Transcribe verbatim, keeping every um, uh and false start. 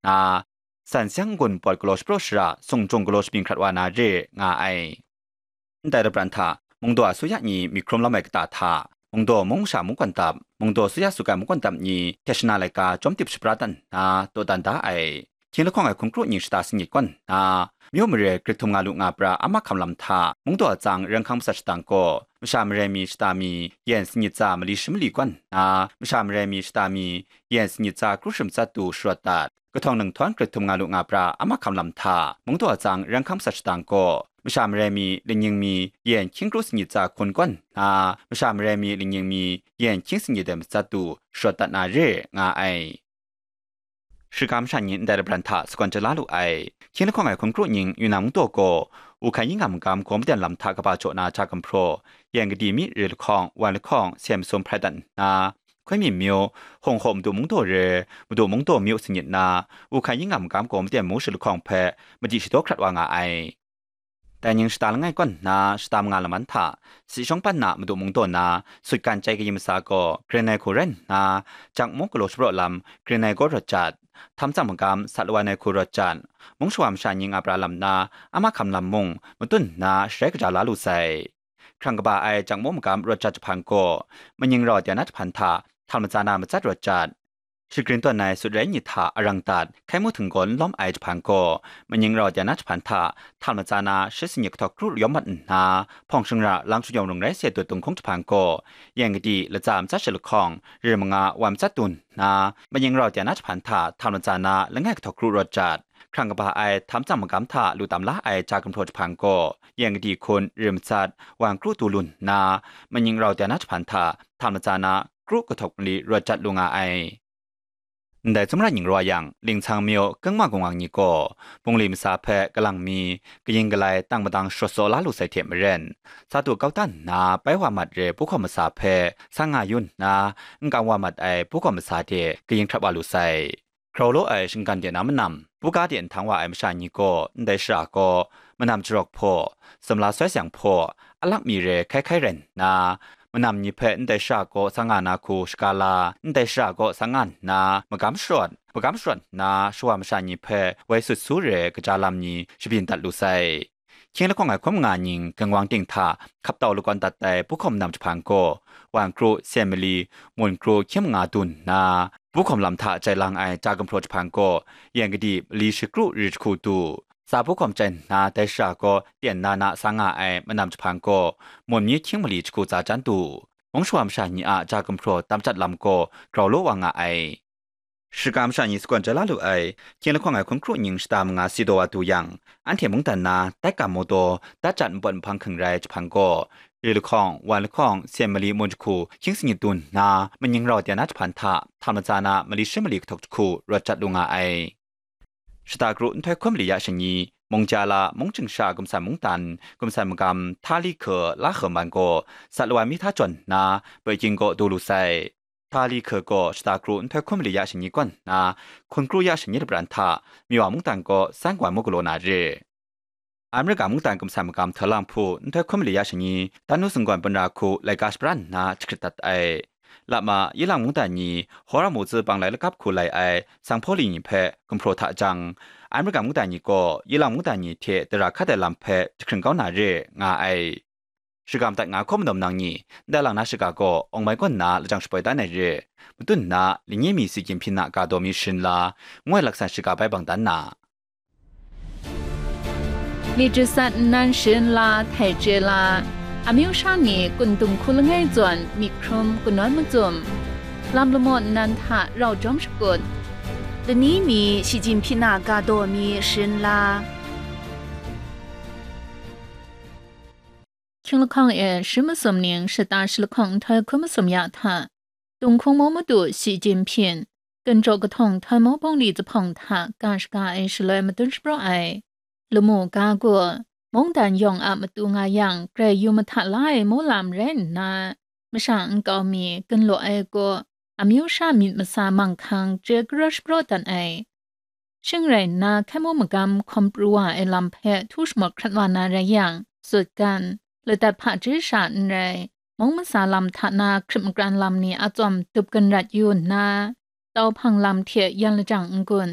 nna, san seng n-gun pawt galaw shapraw shara, sung jung galaw shabyin hkrat wa na re nga ai. Ndai lapran hta, mungdaw asuya ni myit hkrum lam ai kata hta, mungdaw mung masha mungkan dap, mungdaw asuya sugan mungkan dap ni hte shana laika chyawm tip shapra dat nna dawdan da ai. Hkying lahkawng ai hkun kru nying shata sanit kaw nna, myu mare grit htum nga lu nga pra a mahkam lam hta, mungdaw atsang ren hkang matsat shadang gaw, masha mare mi shata mi yen sanit tsa mali shi mali kaw nna, masha mare mi shata mi yen sanit tsa kru shi matsat du sharawt dat. Kahtawng ninghtawng grit htum nga lu nga pra a mahkam lam hta, mungdaw atsang ren hkang matsat shadang gaw, masha mare mi lingning mi yen hkying kru sanit tsa hkun kaw nna, masha mare mi lingning mi yen hkying sanit ai matsat du sharawt dat na re nga ai. Shikam sha ni ndai lapran hta sagawn chyat la lu ai. Hkying lahkawng ai hkun kru nying Yunnan mungdaw gaw, Wuhkai yingham magam gaw maden lam hta kaba jaw na ja gumhpraw, yen kadi mi re lahkawng, wan lahkawng, sem masum hprai dat nna, Hkoi mi myu, Hong Haw madu mungdaw re, madu mungdaw myu sanit na, Wuhkai yingham magam gaw maden mu shi lahkawng hpe madi shadaw hkrat wa nga ai. Dai ning shata langai kaw nna shata manga laman hta, si shawng pan na madu mungdaw na, sut gan chyai kayin masa gaw, grin ai hku rai nna, jak mung galaw shapraw lam, grin ai gaw rawt jat, htam tsang magam, sat lawan ai hku rawt jat, mung shawa masha ni nga pra lam na, a mahkam lam mung, matun nna sharai kaja la lu sai. Hkrang kaba ai jak mung magam rawt jat jahpan gaw, maning rau dai na jahpan hta, htal matsa na matsat rawt jat. Shagrin tawn ai sut rai myit hta arang dat, hkai mu htinggawn lawm ai jahpan gaw, maning rau dai na jahpan hta, htal matsa na shi sanit kahtawk kru yawm mat nna, hpawng shingkang lang shayawng rung rai se dut dunghkung jahpan gaw, yen kadi latsa matsat shi lahkawng, ri manga wan matsat du nna, maning rau dai na jahpan hta, htal matsa na langai kahtawk kru rawt jat. Hkrang kaba ai htam tsang magam hta lu tam la ai ja gumhpraw jahpan gaw, yen kadi hkun ri matsat, wan kru du lu nna, maning rau dai na jahpan hta, htam matsa na kru kahtawk mali rawt jat lu nga ai. Ndai tsawmra nying rawt yang, Lingchang myu, Kengma Gungwang ni gaw, bungli masa hpe kalang mi, kayin kalai tang madang sharawt tsaw la lu sai hte maren, sa du kau dan nna pai wa mat re puhkawm masa hpe sang nga yu nna, n kam wa mat ai puhkawm masa de kayin hkrat wa lu sai. Grau law ai shinggan de na manam, buga de nhtang wa ai masha ni gaw ndai shara gaw, manam jarok hpaw, sumla soi sayang hpaw, alak mi re hkai hkai rai nna, manam ni hpe ndai shara gaw sa nga na hku shaga la, ndai shara gaw sa nga nna, magam sharawt, magam sharawt nna, shawa masha ni hpe woi sut su re kaja lam ni shabyin dat lu sai. Hkying lahkawng ai hkun manga nying Gangwang ting hta hkap tau lakawn dat ai puhkawm nam jahpan gaw, wan kru, sen mali, mun kru hkying manga du nna, puhkawm lam hta jai lang ai ja gumhpraw jahpan gaw, yen kadi mali shi kru ri jahku du. Sa puhkawm chyai nna dai shara gaw tyen na na sa nga ai manam jahpan gaw, mun myi hkying mali jahku tsa jan du. Mung shawa masha ni a ja gumhpraw tam jat lam gaw grau law wa nga ai. Shikam sha ni sagawn jai la lu ai, hkying lahkawng ai hkun kru nying shata manga si taw wa du yang, anhte mungdan na, tai kam mawtaw, dat jat npawt nhpang hkring rai jahpan gaw, ri lahkawng, wan lahkawng, sen mali mun jahku hkying sanit du nna, maning rau dai na jahpan hta, hta matsa na mali shi mali kahtawk jahku rawt jat lu nga ai. Shata kru nhtoi hkun mali ya shanyi, mung ja la, mung ching sha gumsan mungdan, gumsan magam, hta li hka, la hka man gaw, sat lawan mi hta jawn nna, Peking kaw du lu sai. Hta li hka gaw shata kru nhtoi hkun mali ya shanyi kaw nna, hkun kru ya shanyi lapran hta, Miwa mungdan kaw san wan mu galaw na re. Amerika mungdan gumsan magam hta lang hpu nhtoi hkun mali ya shanyi, Tanu sunggawn punra hku laika shapra nna jahkrit dat ai. Lama, Yilang mungdan ni Hora mu tsi bang lai lakap hku lai ai sanghpaw li ni hpe gumhpraw hta jang, Amerika mungdan ni gaw Yilang mungdan ni hte tara hkat ai lam hpe jahkring kau na re, nga ai. Shagam dat nga hkawm dawm nang ni, ndai lang na shaga gaw awng mai kaw nna lajang shapoi dan ai re, matun nna, Linyi mi Xi Jinping a ga daw mi sharin la, ngu ai laksan shaga bai bang dan na. Myit jasat nnan sharin la, htai chye la, amyu sha ni kun dung hku langai zawn myit hkrum kanawn macum, lam lamaw nnan hta rau jawm shakut, lani mi Xi Jinping a ga daw mi sharin la. Hkying lahkawng e shi masum ning shata shi lahkawng nhtoi hkun masum ya hta, Dunghkung mu madu Xi Jinping, Ginjaw kahtawng htoi mu bungli zuphpawng hta ga shaga ai shaloi madun shapraw ai. Lamu ga gaw, mungdan yawng a matu nga yang grai yu mahta la ai mu lam rai nna, masha nkau mi, ginlaw ai gaw, amyu sha myit masa manghkang chye karaw shapraw dat ai. Shing rai nna, hkai mu magam hkawm pru wa ai lam hpe htu shamawt hkrat wa na rai yang, sut gan, ladat hpaji sha n rai, mung masa lam hta na hkrit makran lam ni a tsawm dup ganrat yu nna, tau hpang lam hte yan lajang n-gun,